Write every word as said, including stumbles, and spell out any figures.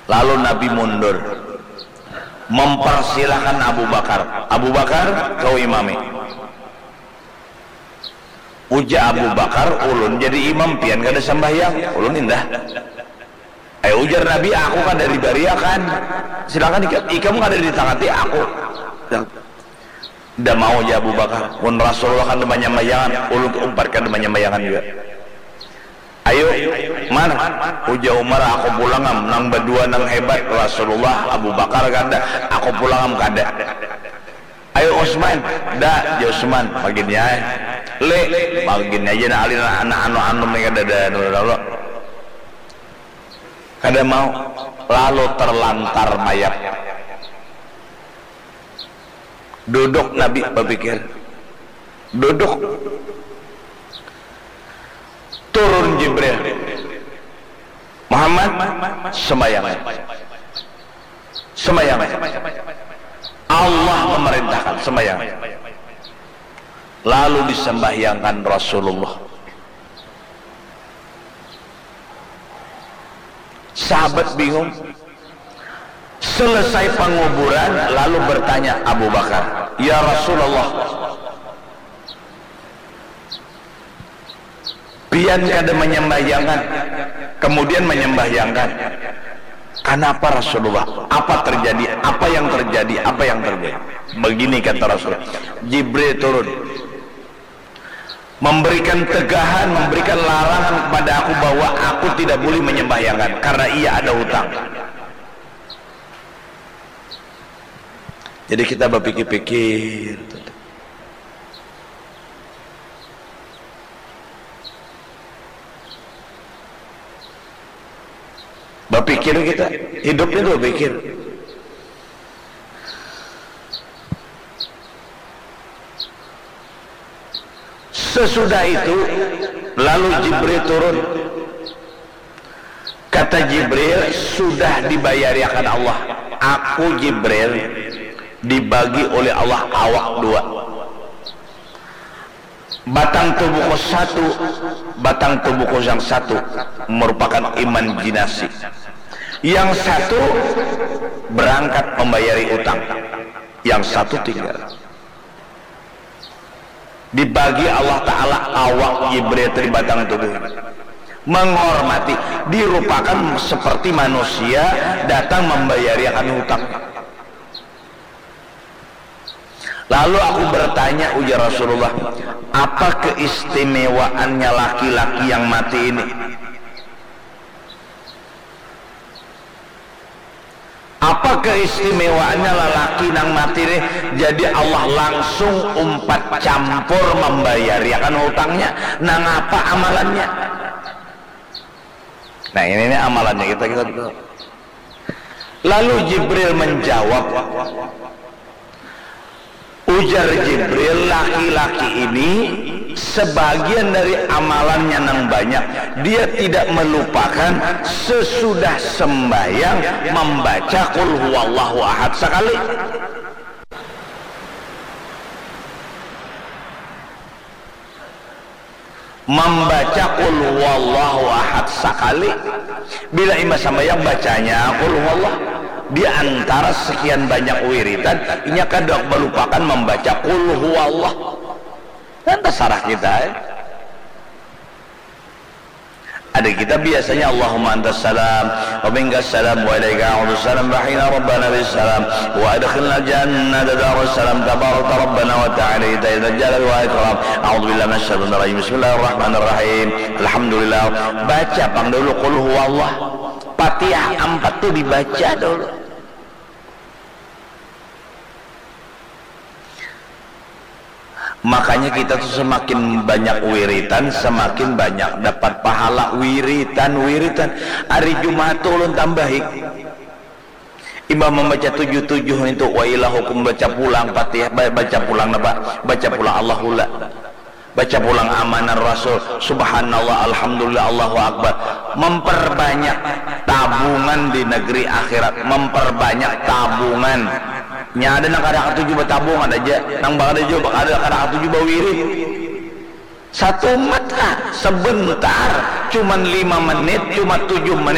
Lalu Nabi mundur, mempersilahkan Abu Bakar, "Abu Bakar, kau imami." Ujar Abu Bakar, "Ulun jadi imam, pian kada sambahyang, ulun indah." Ayo, ujar Nabi, "Aku kada dibariakan. Silakan ikam, ikam kada ditangati aku." "Nda mau," jar Abu Bakar, "mun Rasulullah kada manyambayangan, ulun umpat kada manyambayangan jua." "Ayo, Mar," ujar Umar, "aku pulang am, nang badua nang hebat, Rasulullah, Abu Bakar kada, aku pulang am kada." "Ayo, Utsman." "Nda," jar Utsman, "magini ai." "Le, magini aja nah, alin anak anu-anu ni kada ada anu lalu." Kada mau, lalu terlantar mayat. Duduk Nabi bapikir. Duduk. Turun Jibril. "Muhammad, sembahyang. Sembahyang. Allah memerintahkan, sembahyang." Lalu disembahyangkan Rasulullah. Sahabat bingung. Selesai penguburan, lalu bertanya Abu Bakar, "Ya Rasulullah, pian kada menyembahyangkan, kemudian menyembahyangkan. Kenapa, Rasulullah? Apa terjadi? Apa yang terjadi? Apa yang terjadi?" Begini kata Rasul, "Jibril turun, memberikan tegahan, memberikan larangan kepada aku bahwa aku tidak boleh menyembahyangkan karena ia ada hutang." Jadi kita berpikir-pikir. Bapikir kita, hidup itu bapikir. Sesudah itu, lalu Jibril turun. Kata Jibril, "Sudah dibayariakan Allah. Aku, Jibril, dibagi oleh Allah awak dua. Batang tubuhku satu, batang tubuhku yang satu merupakan imajinasi. Yang satu berangkat membayari utang, yang satu tinggal." Dibagi Allah Ta'ala awak Jibril di batang tubuh. Menghormati, dirupakan seperti manusia datang membayariakan hutang. Lalu aku bertanya, ujar Rasulullah, "Apa keistimewaannya laki-laki yang mati ini? Apa keistimewaannya lalaki nang mati nih? Jadi Allah langsung umpat campur membayariakan hutangnya. Nang apa amalannya?" Nah, ini nih amalannya kita, kita, kita. Lalu Jibril menjawab, ujar Jibril, "Laki-laki ini sebagian dari amalannya nang banyak, dia tidak melupakan sesudah sembahyang membaca Qul Huwallahu Ahad sekali." Membaca Qul Huwallahu Ahad sakali. Bila imbah sambayang bacanya Qul Huwallah. Di antara sekian banyak wiridan, inya kada melupakan membaca Qul Huwallah. Kan tasarah kita, eh. Ada kita biasanya, "Allahumma antas salam, wa minkas salam, wa ilaika a'udus salam, wa hayna rabbana bis salam, wa adkhilna jannata darus salam, tabarakta rabbana wa ta'ala, ita ita jalal wa ikram, a'udzu billahi minasy syaitanir rajim, bismillahirrahmanirrahim, alhamdulillah." Baca pang dulu Qul Huwallah. Fatihah ampat tu dibaca dulu. Makanya kita tuh semakin banyak wiritan, semakin banyak dapat pahala wiritan, wiritan. Hari Jumat tuh ulun tambahi. Imbah membaca tujuh tujuh itu, wa ilahukum, baca pulang Fatihah, ba-, baca pulang napa? Baca pulang Allahullah. Baca pulang amanar Rasul, subhanallah, alhamdulillah, Allahu akbar. Memperbanyak tabungan di negeri akhirat, memperbanyak tabungan. Nya ada nang kada katuju batabung, ada aja nang kada jua, kada, kada katuju bawirid. Satu mata sebentar, cuman lima menit, cuma tujuh menit.